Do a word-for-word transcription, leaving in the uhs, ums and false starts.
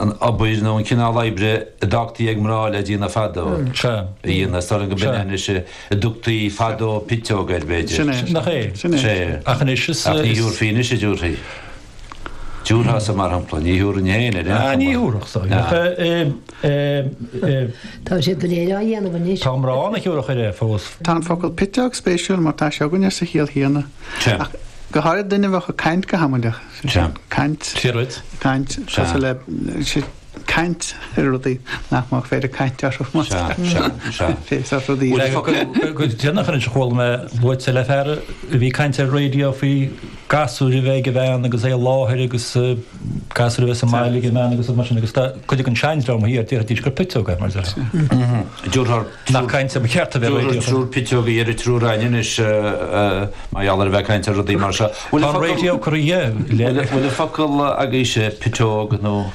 An obair nó an cineál oibre a d'fhágtaí ag mná le déanamh fadó. Sea. A dhéanamh, is dóigh liom go b'in é anois a dtugtaí fadó piteog air, b'fhéidir. Sin é. Nach é? Sin é. Sea. Ach anois is. Ach ní thabharfaí anois a dtabharfaí. Dtabharfása, mar shampla, ní thabharfainn féin ar aon Ah, ní chuma. thabharfadh, so. Ach eh, eh, eh, Tá siad go léir á dhéanamh anois. tá mná ann a thiúrfadh air é fós. Tá an focal piteog spéisiúil mar tá sé againne sa chiall chéanna. Sea. Ach go háirid duine a bheadh ag caint go hamaideach. Sea. Caint. Fíor duit. Caint Sea. cosúil le sé caint ar rudaí nach mbeadh féidir caint orthu. Sea, sea, sea. Fé sort rudaí. Bhfuil focal- Go déanach anois a chuala mé luaite le fear a bhí caint ar raidió faoi gasúr a bheith ag a bhean agus é i láthair agus eh, gasúr a bheith sa mbaile ag a bhean agus mar sin agus tá cuid den seandream thiar déarfaidís gur piteog é mar deir. Dúrthar Nach caint a ba cheart a bheith ar raidió. Triúr piteog ar triúr againn anois mar gheall ar a bheith caint ar rudaí mar seo. Bhfuil Tá an focal- raidió curtha dhe Bhfuil bhfuil focal agaibhse piteog nó